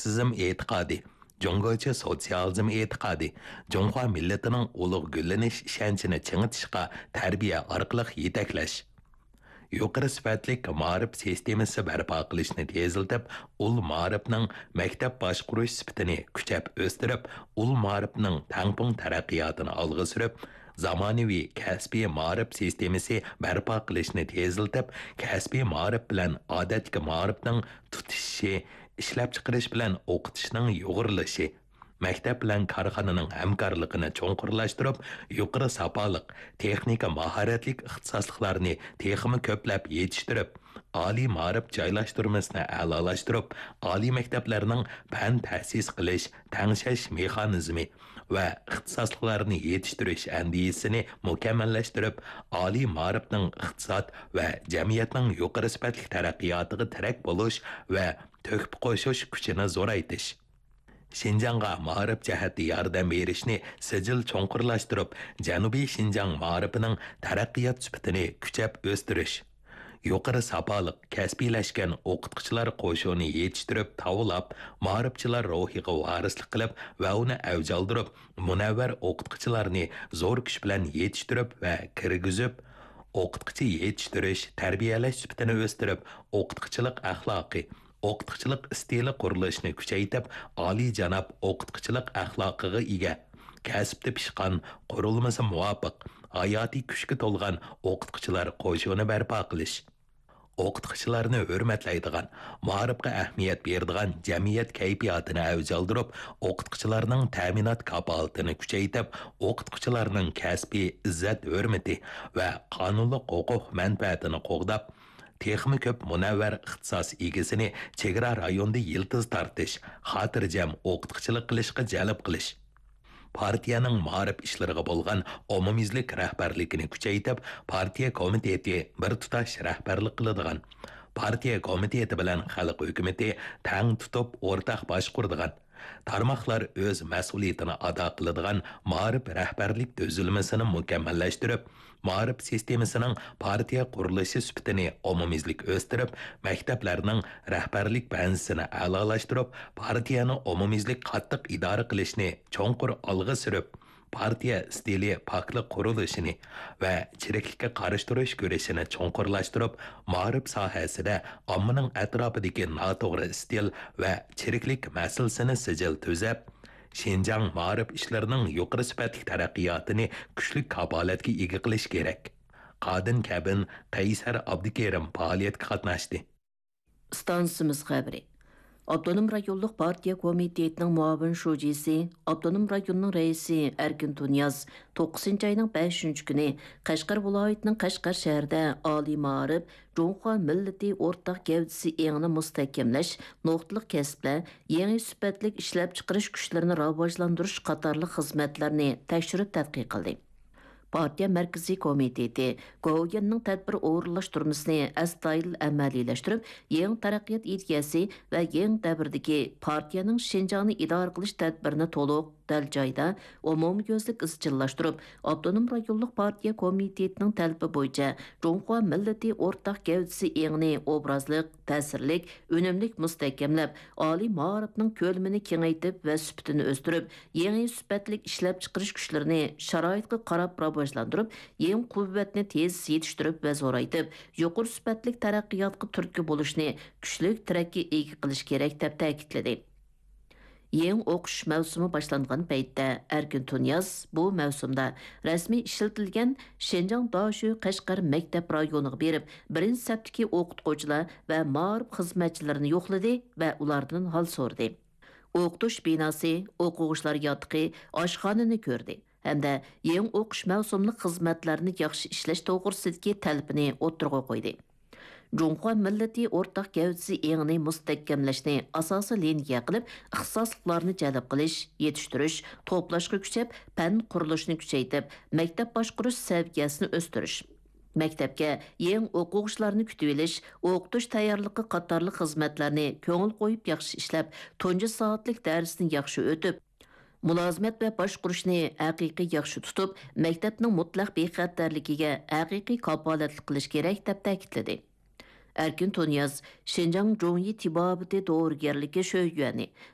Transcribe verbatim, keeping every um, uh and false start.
ماركسىزم ئېتىقادى، جۇڭگوچە سوتسىيالىزم ئېتىقادى، جۇڭخۇا مىللىتىنىڭ ئۇلۇغ گۈللىنىش ئىشەنچىنى چىڭىتىشقا تەربىيە ئارقىلىق يېتەكلەش. يۇقىرى سۈپەتلىك مائارىپ سىستېمىسى بەرپا قىلىشنى تېزلىتىپ، ئۇل مائارىپنىڭ مەكتەپ باشقۇرۇش سۈپىتىنى كۈچەپ ئۆستۈرۈپ، ئۇل مائارىپنىڭ تەڭپۇڭ تەرەققىياتىنى ئالغا سۈرۈپ، زامانىۋى كەسپىي مائارىپ سىستېمىسى بەرپا قىلىشنى تېزلىتىپ، كەسپىي مائارىپ بىلەن ئادەتتىكى مائارىپنىڭ تۇتىشىشى، ئىشلەپچىقىرىش بىلەن ئوقۇتۇشنىڭ يۇغۇرۇلۇشى، مەكتەپ بىلەن كارخانىنىڭ ھەمكارلىقىنى چوڭقۇرلاشتۇرۇپ، يۇقىرى ساپالىق، تېخنىكا ماھارەتلىك ئىختىساسلىقلارنى تېخىمۇ كۆپلەپ يېتىشتۈرۈپ، ئالىي مائارىپ جايلاشتۇرمىسىنى ئەلالاشتۇرۇپ، ئالىي مەكتەپلەرنىڭ پەن تەسىس قىلىش، تەڭشەش مېخانىزمى ۋە ئىختىساسلىقلارنى يېتىشتۈرۈش ئەندىزىسىنى مۇكەممەللەشتۈرۈپ، ئالىي مائارىپنىڭ ئىقتىساد ۋە جەمئىيەتنىڭ يۇقىرى سۈپەتلىك تەرەققىياتىغا تىرەك بولۇش ۋە تۆھپە قوشۇش كۈچىنى زورايتىش. شىنجاڭغا مائارىپ جەھەتتە ياردەم بېرىشنى سىجىل چوڭقۇرلاشتۇرۇپ، جەنۇبىي شىنجاڭ مائارىپىنىڭ تەرەققىيات سۈپىتىنى كۈچەپ ئۆستۈرۈش. يۇقىرى ساپالىق، كەسپىيلەشكەن ئوقۇتقۇچىلار قوشۇنى يېتىشتۈرۈپ تاۋلاپ، مائارىپچىلار روھىغا ۋارىسلىق قىلىپ ۋە ئۇنى ئەۋج ئالدۇرۇپ، مۇنەۋۋەر ئوقۇتقۇچىلارنى زور كۈچ بىلەن يېتىشتۈرۈپ ۋە كىرگۈزۈپ، ئوقۇتقۇچى يېتىشتۈرۈش، تەربىيەلەش سۈپىتىنى ئۆستۈرۈپ، ئوقۇتقۇچىلىق ئەخلاقى، ئوقۇتقۇچىلىق ئىستىلى قۇرۇلۇشىنى كۈچەيتىپ، ئالىيجاناب ئوقۇتقۇچىلىق ئەخلاقىغا ئىگە، كەسىپتە پىشقان، قۇرۇلمىسى مۇۋاپىق، ھاياتىي كۈچكە تولغان ئوقۇتقۇچىلار قوشۇنى بەرپا قىلىش. ئوقۇتقۇچىلارنى ھۆرمەتلەيدىغان، مائارىپقا ئەھمىيەت بېرىدىغان جەمئىيەت كەيپىياتىنى ئەۋج ئالدۇرۇپ، ئوقۇتقۇچىلارنىڭ تەمىنات كاپالىتىنى كۈچەيتىپ، ئوقۇتقۇچىلارنىڭ كەسپىي ئىززەت-ھۆرمىتى ۋە قانۇنلۇق ھوقۇق مەنپەئەتىنى قوغداپ، تېخىمۇ كۆپ مۇنەۋۋەر ئىختىساس ئىگىسىنى چېگرا رايونىدا يىلتىز تارتىش، خاتىرجەم ئوقۇتقۇچىلىق قىلىشقا جەلپ قىلىش. پارتىيەنىڭ مائارىپ ئىشلىرىغا بولغان ئومۇميۈزلۈك رەھبەرلىكىنى كۈچەيتىپ، پارتىيە كومىتېتى بىر تۇتاش رەھبەرلىك قىلىدىغان، پارتىيە كومىتېتى بىلەن خەلق ھۆكۈمىتى تەڭ تۇتۇپ ئورتاق باشقۇرىدىغان، تارماقلار ئۆز مەسئۇلىيىتىنى ئادا قىلىدىغان مائارىپ رەھبەرلىك تۈزۈلمىسىنى مۇكەممەللەشتۈرۈپ، مائارىپ سىستېمىسىنىڭ پارتىيە قۇرۇلۇشى سۈپىتىنى ئومۇميۈزلۈك ئۆستۈرۈپ، مەكتەپلەرنىڭ رەھبەرلىك بەنزىسىنى ئەلالاشتۇرۇپ، پارتىيەنى ئومۇميۈزلۈك قاتتىق ئىدارە قىلىشنى چوڭقۇر ئالغا سۈرۈپ، پارتىيە ئىستىلى پاكلىق قۇرۇلۇشىنى ۋە چىرىكلىككە قارشى تۇرۇش كۈرىشىنى چوڭقۇرلاشتۇرۇپ، مائارىپ ساھەسىدە ئاممىنىڭ ئەتراپىدىكى ناتوغرا ئىستىل ۋە چىرىكلىك مەسىلىسىنى سىجىل تۈزەپ، شىنجاڭ مائارىپ ئىشلىرىنىڭ يۇقىرى سۈپەتلىك تەرەققىياتىنى كۈچلۈك كاپالەتكە ئىگە قىلىش كېرەك. قادىن كەبىن، قەيسەر ئابدۇكېرىم پائالىيەتكە قاتناشتى. ئىستانسىمىز خەۋىرى. ئاپتونوم رايونلۇق پارتىيە كومىتېتىنىڭ مۇئاۋىن شۇجىسى، ئاپتونوم رايوننىڭ رەئىسى ئەركىن تۇنىياز توققۇزىنچى ئاينىڭ بەشىنچى كۈنى قەشقەر ۋىلايىتىنىڭ قەشقەر شەھىرىدە ئالىي مائارىپ، جۇڭخۇا مىللىتى ئورتاق گەۋدىسى ئېڭىنى مۇستەھكەملەش، نۇقتىلىق كەسىپلەر، يېڭى سۈپەتلىك ئىشلەپچىقىرىش كۈچلىرىنى راۋاجلاندۇرۇش قاتارلىق خىزمەتلەرنى تەكشۈرۈپ تەتقىق قىلدى. پارتىيە مەركىزىي كومىتېتى گوۋۇيۈەننىڭ تەدبىر ئورۇنلاشتۇرمىسىنى ئەستايىدىل ئەمەلىيلەشتۈرۈپ، يېڭى تەرەققىيات ئىدىيەسى ۋە يېڭى دەۋردىكى پارتىيەنىڭ شىنجاڭنى ئىدارە قىلىش تەدبىرىنى تولۇق، دەل جايدا، ئومۇميۈزلۈك ئىزچىللاشتۇرۇپ، ئاپتونوم رايونلۇق پارتىيە كومىتېتىنىڭ تەلىپى بويىچە جۇڭخۇا مىللىتى ئورتاق گەۋدىسى ئېڭىنى ئوبرازلىق، تەسىرلىك، ئۈنۈملۈك مۇستەھكەملەپ، ئالىي مائارىپنىڭ كۆلىمىنى كېڭەيتىپ ۋە سۈپىتىنى ئۆستۈرۈپ، يېڭى سۈپەتلىك ئىشلەپچىقىرىش كۈچلىرىنى شارائىتقا قاراپ راۋاجلاندۇرۇپ، يېڭى قۇۋۋەتنى تېز يېتىشتۈرۈپ ۋە زورايتىپ، يۇقىرى سۈپەتلىك تەرەققىياتقا تۈرتكە بولۇشنى كۈچلۈك تىرەككە ئىگە قىلىش كېرەك، دەپ تەكىتلىدى. يېڭى ئوقۇش مەۋسۇمى باشلانغان پەيتتە، ئەركىن تۇنىياز بۇ مەۋسۇمدا رەسمىي ئىشلىتىلگەن شىنجاڭ داشۆ قەشقەر مەكتەپ رايونىغا بېرىپ، بىرىنچى سەپتىكى ئوقۇتقۇچىلار ۋە مائارىپ خىزمەتچىلىرىنى يوقلىدى ۋە ئۇلاردىن ھال سورىدى. ئوقۇتۇش بىناسى، ئوقۇغۇچىلار ياتىقى، ئاشخانىنى كۆردى ھەمدە يېڭى ئوقۇش مەۋسۇملۇق خىزمەتلەرنى ياخشى ئىشلەش توغرىسىدىكى تەلىپىنى ئوتتۇرىغا قويدى. جۇڭخۇا مىللىتى ئورتاق گەۋدىسى ئېڭىنى مۇستەھكەملەشنى ئاساسىي لىنىيە قىلىپ، ئىختىساسلىقلارنى جەلپ قىلىش، يېتىشتۈرۈش، توپلاشقا كۈچەپ، پەن قۇرۇلۇشىنى كۈچەيتىپ، مەكتەپ باشقۇرۇش سەۋىيەسىنى ئۆستۈرۈش. مەكتەپكە يېڭى ئوقۇغۇچىلارنى كۈتۈۋېلىش، ئوقۇتۇش تەييارلىقى قاتارلىق خىزمەتلەرنى كۆڭۈل قويۇپ ياخشى ئىشلەپ، تۇنجى سائەتلىك دەرسنى ياخشى ئۆتۈپ، مۇلازىمەت ۋە باشقۇرۇشنى ھەقىقىي ياخشى تۇتۇپ، مەكتەپنىڭ مۇتلەق بىخەتەرلىكىگە ھەقىقىي كاپالەتلىك قىلىش كېرەك، دەپ تەكىتلىدى. ئەركىن تۇنىياز شىنجاڭ جۇڭيى تېبابىتى دورىگەرلىكى شۆيۈەنى،